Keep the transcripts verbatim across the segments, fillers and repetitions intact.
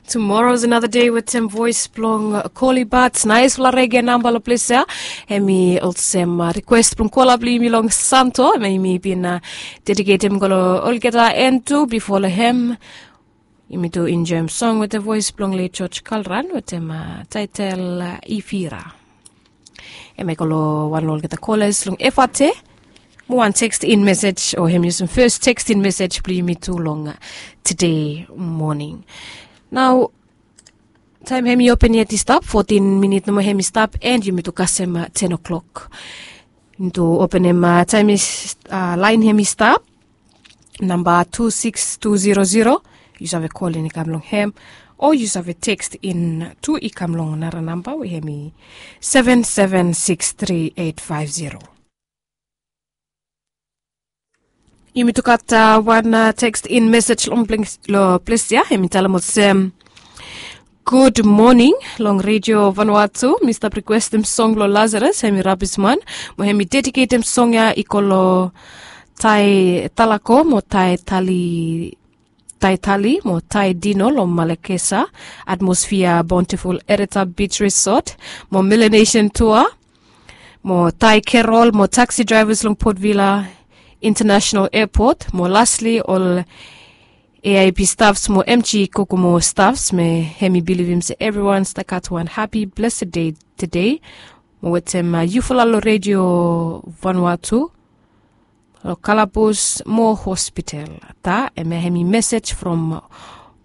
Tomorrow is another day wetem voes blong Koli Bats. Naesfala rege namba long ples ya. Hemi olsem rikwes blong kola blong yumi long Santo, hemi bin dediketem go long olgeta en tu. Bifo long hem, yumi tu enjoem song wetem voes blong late George Kalran wetem taetel Ifira. Hemi go long wan long olgeta kolas long F R T. Mo wan tekstin mesej o hemi yusum fes tekstin mesej blong yumi tu long tede moning. Nao taem hemi open yet i stap fotin minit nomo hemi stap, en yumi tu kasem ten o'klok. Yumi tu openem taem laen hemi stap, namba tu siks tu zero zero. Yu save kolin i kam long hem, o yu save tekstin tu i kam long nara namba we hemi seven seven siks tri eit faef zero. Yumi tu gat wan tekstin mesej long ples ya, hemi talem olsem, gud moning long Redio Vanuatu. Mi stap rikwestem song blong Lazarus, hemi rabisman, mo hemi dediketem song ya i go long Tae Talako mo Tae Tali, Tae Tali mo Tae Dino long Malakesa, Atmosphere Bountiful Ereta Beach Resort, mo Melanesian Tour, mo Tae Kerol mo taxi draivas long Port Vila International Airport, mo lastly ol A I P staffs mo M G Kokomo staffs. Me hemi bilivim se evriwan stap gat wan hapi blesed dei tede. Mo wetem yufala long Redio Vanuatu, long kalabus mo hospital. Taem ya hemi mesej from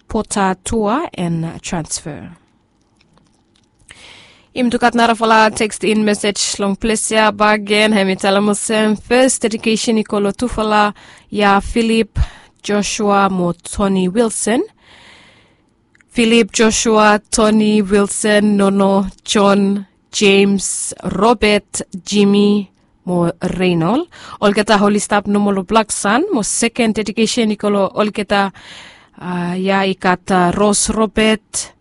Pota Tour and Transfer. Yumi tu gat narafala tekstin mesej long ples ya bakegen, hemi talem olsem, fes dedikesen i go long tufala ya, Filip Joshua mo Toni Wilson. Filip Joshua, Toni Wilson, Nono, Jon, Jems, Robet, Jimi mo Reinol. Olgeta oli stap nomo long Blaksan. Mo seken dedikesen i go long olgeta ya i gat Ros Robet,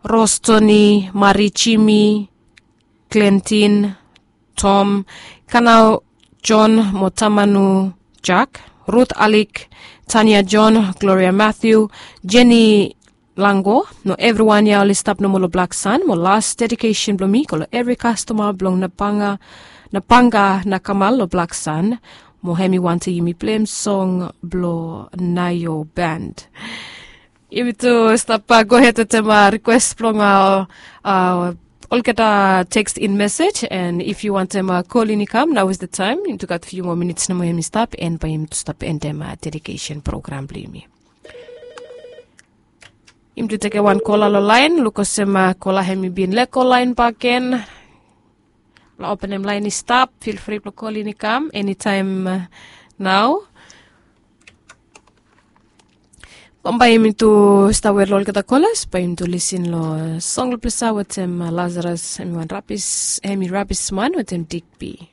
Ros Toni, Mari Jimi, Klentin, Tom, Kanao Jon mo Tamanu Jak, Rut Alik, Tania Jon, Gloria Mathew, Jeni Lango, no evriwan ya oli stap nomo long Blaksan. Mo las dedikesen blong mi i go long evri kastoma blong Napanga, Napanga Nakamal long Blaksan. Mo hemi wantem yumi pleim song blong Naio Band. Yumi tu stap gohed wetem rikwes blong olgeta tekstin mesej, and if yu wantem kolin i kam, nao is the taem. Yumi tu gat fiu moa minits nomo hemi stap, and bae yumi tu stap endem dedikesen program blong yumi. Yumi tu tekem wan kola long laen, luk olsem kola hemi bin lego laen bakegen. Long openem laen i stap, feel free blong kolin i kam enitaem nao. Bambae yumi tu stap wet long olgeta kolas, bae yumi tu lisin long song long ples ya wetem Lazarus, hemi wan rabis, hemi rabisman wetem Digby.